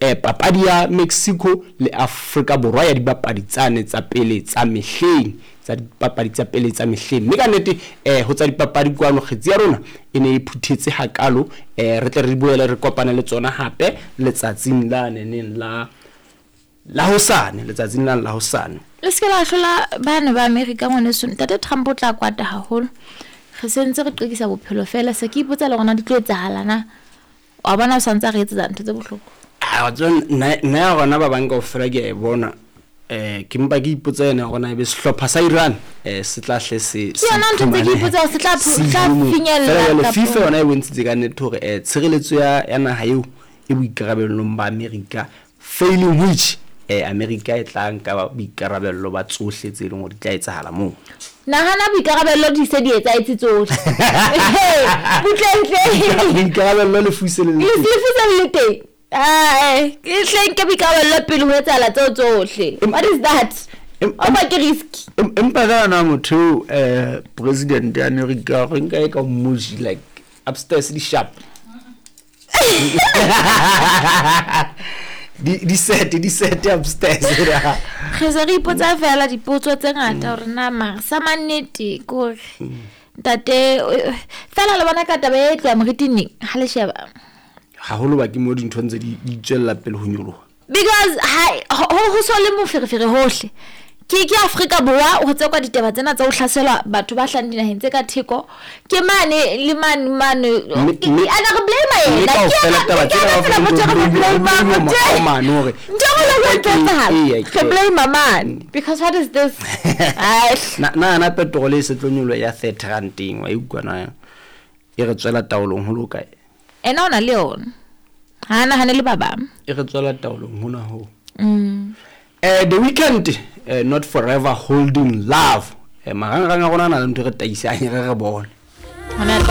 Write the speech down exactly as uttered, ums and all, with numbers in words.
eh, papadi ya Mexico le Afrika Borwa ya dibapadi tsane tsa pele tsa mehleng, tsa dipapadi tsa pele tsa mehleng. Mme ka nnete eh, ho tsa dipapadi kwano kgetsi ya rona e ne e phuthetse hakalo. eh, re tle re boele re kopane le tsona hape letsatsing la neneng la la hosane, letsatsing la la hosane. Le se ke la hlola bana ba Amerika ngwaneso. Ntate Trump o tla kwata haholo. Re sentse re qekisa bophelo fela, se ke ipotsa le rona di tlo etsahala na. Wa bona o santse a re etsetsa ntho tse bohloko. Ah, wa tseba, nna nna ya rona ba bang kaofela ke a e bona. Eh, ke mpa ke ipotsa yena hore na ebe sehlopha sa Iran eh se tla hle se Ke yona ntho tse ke ipotsa hore se tla se tla ile moo. finyella Feela jwale kapa- FIFA yona e bontshitse ka nnete hore eh tshireletso ya ya naha eo e boikarabellong ba America, failing which eh America e tla nka boikarabello ba tsohle tse leng hore di tla etsahala moo. Nahana boikarabello di se di etsahetse tsohle. Butlentle. Boikarabello le fuse le le Le teng. se se le teng. Ae, ke hle nke boikarabello pele ho etsahala tseo tsohle. What is that? Em- O ba ke risk. Em- empa ka yona motho eo, eh president ya America re nka e ka mmoji like upstairs di sharp. Di di set di set upstairs. Re se re ipotsa fela dipotso tse ngata hore na mara sa mannete ke hore ntate eh, fela le bona ka taba e tloha moriting neng ha le sheba. Haholo ba ke mo dintho ntse di di tswella pele ho nyoloha. Because ha ho ho so le moferefere hohle. Ke ke Afrika Borwa ho tsekwa ditaba tsena tsa ho hlaselwa batho ba hlahang dinaheng tse ka theko. Ke mane le mane mane. Mme- Ke- mme- ana re blame mme yena. Ke kaofela yena- taba ke tsena yena kaofela fela motho e re di- mo di- blame-ang. di- di- Ntho e- di- mane hore ntho e nngwe le e nngwe e Eya, etsahala. ke- Re blame mane. Because what is this? Ai. Na na na petrol e se tlo nyoloha ya thirty rand-eng, wa e utlwa na? E re tswela taolong ho loka. Ena o na le yona. Ha a nahane le ba bang. E re tswela taolong hona ho. Mm. Eh, The Weeknd, eh, Not Forever Holding Love. Eh, marangrang a rona a na le ntho e re taisang, re re bone. Hona